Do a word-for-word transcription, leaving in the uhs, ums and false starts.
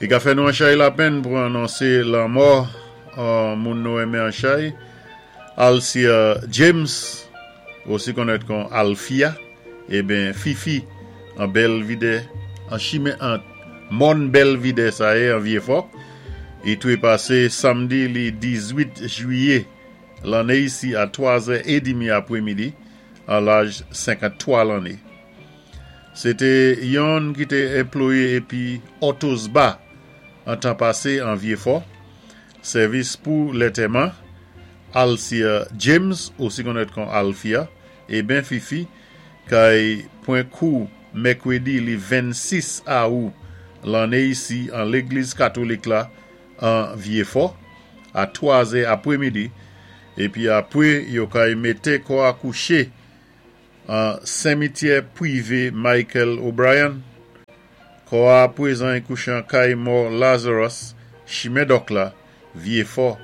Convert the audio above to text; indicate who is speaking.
Speaker 1: I ka fè nou an chay lapenn pou anonsé lanmò an moun nou enmen an chay. Alcia James, osi konnèt kon Alfia, eben Fifi an Belvidè, an chimen an Mòn Belvidè sa yé an Vyéfò. I twé pasé samdi li diz-wit jwiyé lanné isi a twa zè é demi apwémidi an laj senkanntwa lanné. Sé té yonn ki té anplwayé épi Otto's Bar an tan pasé an Vyéfò. Sèvis pou lantèman Alcia James, osi konnèt kon Alfia, eben Fifi, kay pwan kou mèkwédi li vennsis awou lanné isi an légliz katolik la an Vyéfò a twa zè apwémidi épi apwé yo kay mété kò a kouché an simityè pwivé Michael O'Brien. Kò a pwézan kouché an kay mò Lazarus, chimen Dòk la, Vyéfò.